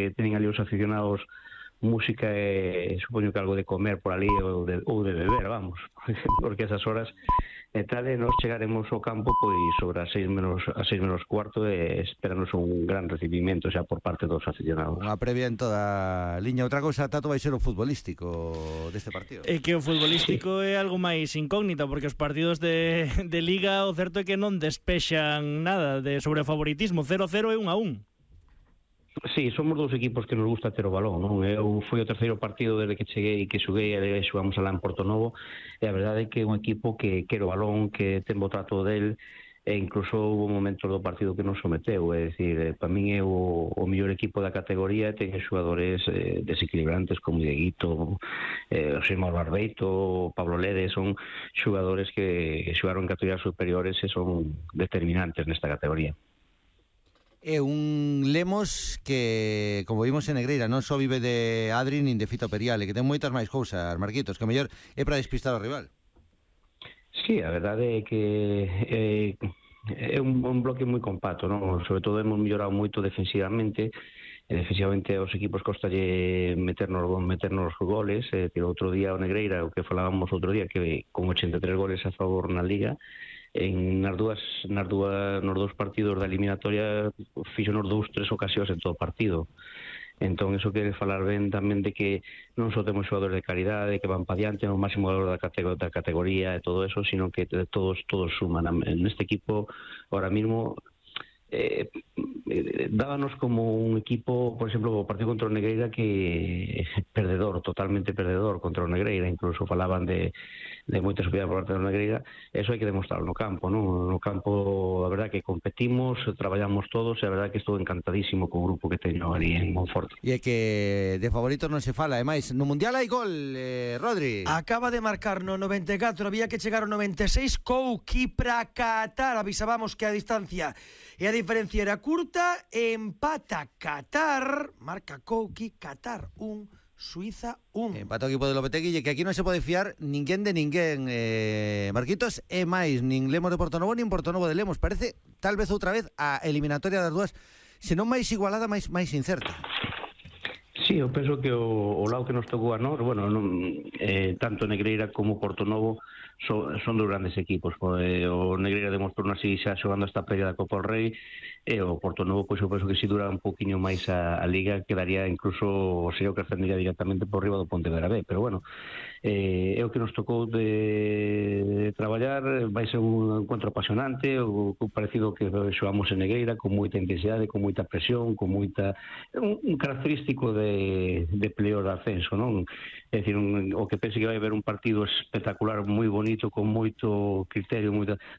que teñen ali os aficionados música e supoño que algo de comer por ali ou de beber, vamos, porque esas horas e tal, e nos chegaremos ao campo pois sobre as 6 menos cuarto e esperanos un gran recibimento xa por parte dos aficionados. Unha previa en toda a liña. Outra cousa, Tato, vai ser o futbolístico deste partido. É que o futbolístico é algo máis incógnito, porque os partidos de Liga o certo é que non despexan nada sobre o favoritismo, 0-0 e 1-1. Sí, somos dous equipos que nos gusta ter o balón, non? Eu fui o terceiro partido desde que cheguei, que xoguei, e xogamos alá en Portonovo, e a verdade é que é un equipo que quere o balón, que ten bo trato del, e incluso houve momentos do partido que nos someteu, é dicir, para min é o mellor equipo da categoría, ten xogadores desequilibrantes como Dieguito, José Mauro Barbeito, Pablo Lede, son xogadores que xogaron en categorías superiores e son determinantes nesta categoría. É un Lemos que, como vimos en Negreira, non só vive de Adri nin de Fito Periale, que ten moitas máis cousas, Marquitos, que o mellor é para despistar ao rival. Sí, a verdade é que é un bloque moi compacto, non? Sobre todo hemos mellorado moito defensivamente. Defensivamente aos equipos costalle meternos goles. Outro día o Negreira, o que falábamos outro día, que con 83 goles a favor na Liga, nos dous partidos da eliminatoria fixonos 2-3 ocasións en todo o partido. Entón, eso quere falar ben tamén de que non só temos xogadores de calidade, que van pa diante no máximo valor da categoría e todo eso, sino que todos suman. Neste equipo, ahora mismo, dábanos como un equipo, por exemplo, o partido contra o Negreira, que perdedor, totalmente perdedor contra o Negreira, incluso falaban de moita superioridade por parte do Negreira. Eso hai que demostrarlo no campo, non? No campo, a verdade que competimos, traballamos todos, e a verdade que estou encantadísimo co grupo que teño ali en Monforte. E é que de favoritos non se fala, ademais, no Mundial hai gol, Rodri. Acaba de marcar no 94, había que chegar ao 96, Kouki para Qatar, avisábamos que a distancia e a diferencia era curta, empata Qatar, marca Kouki, Qatar 1, Suiza 1. Empata o equipo de Lopetegui, que aquí non se pode fiar ninguén de ninguén, Marquitos, e máis, nin Lemos de Portonovo, nin Portonovo de Lemos. Parece, tal vez outra vez, a eliminatoria das dúas, senón máis igualada, máis incerta. Sí, eu penso que o lado que nos tocou a nós, bueno, tanto Negreira como Portonovo son dos grandes equipos. O Negreira demostrou así xa xogando esta previa da Copa do Rei, e o Portonovo, pois eu penso que se dura un poquinho máis a Liga, quedaría incluso, o serio que ascendería directamente por riba do Pontevedra B, pero bueno, é o que nos tocou de traballar. Vai ser un encontro apasionante, o parecido que xogamos en Negreira, con moita intensidade, con moita presión, con moita un característico de playoff de ascenso, non? É dicir, o que pense que vai haber un partido espectacular, moi bonito, con moito criterio,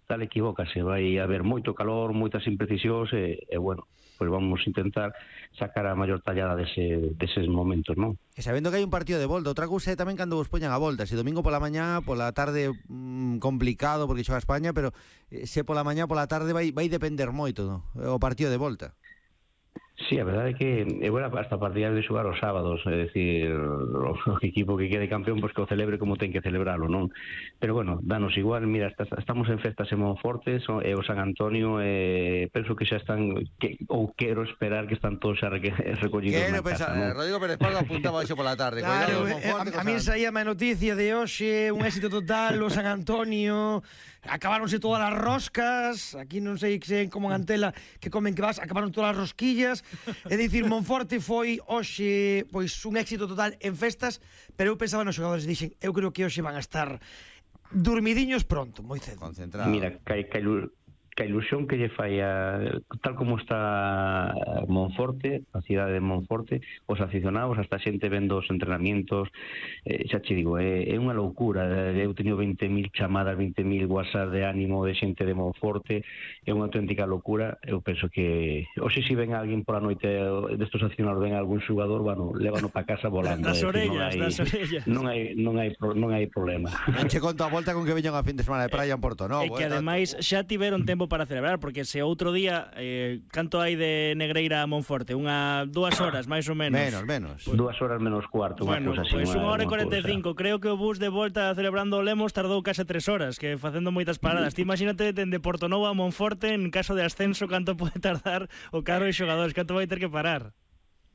tal, equivócase, vai haber moito calor, moitas imprecisións, e bueno, pois vamos a intentar sacar a maior tallada deses momentos, non? E sabendo que hai un partido de volta, outra cousa é tamén cando vos poñan a volta, se domingo pola mañá, pola tarde complicado porque xoga España, pero se pola mañá, pola tarde vai depender moito, no? O partido de volta. Sí, a verdade é que hasta partidas de xogar os sábados, é dicir, o equipo que quede campeón, pois que o celebre como ten que celebralo, non? Pero bueno, danos igual, mira, estamos en festas en Monforte, e o San Antonio, penso que xa están, ou quero esperar que están todos xa recollidos na casa, non? Rodrigo Pérez Pardo apuntaba hoxe pola tarde. Claro, a mí saía a noticia de hoxe, un éxito total, o San Antonio, acabáronse todas as roscas, aquí non sei como en Antela que comen que vas, acabaron todas as rosquillas. É dicir, Monforte foi hoxe pois un éxito total en festas, pero eu pensaba nos xogadores, dixen, eu creo que hoxe van a estar dormidiños pronto, moi cedo. Concentrado. Mira, que a ilusión que lle fai tal como está Monforte, a cidade de Monforte, os aficionados, hasta xente vendo os entrenamientos, xa che digo, é unha loucura. Eu teño 20.000 chamadas, 20.000 WhatsApp de ánimo de xente de Monforte, é unha auténtica loucura. Eu penso que hoxe se ven alguén pola noite destos aficionados, ven algún xogador, bueno, lévano para casa volando. Das orellas. Non hai problema. Non che conto a volta con que veñan a fin de semana de praia en Porto, non? E que ademais xa tiveron tempo para celebrar, porque se outro día canto hai de Negreira a Monforte, 2 horas máis ou menos. Menos. Pues, 2 horas menos cuarto, bueno, cousa así. Pois 1 hora e 45, creo que o bus de volta celebrando o Lemos tardou case 3 horas, que facendo moitas paradas. Ti imagínate dende Portonovo a Monforte, en caso de ascenso, canto pode tardar o carro de xogadores, canto vai ter que parar.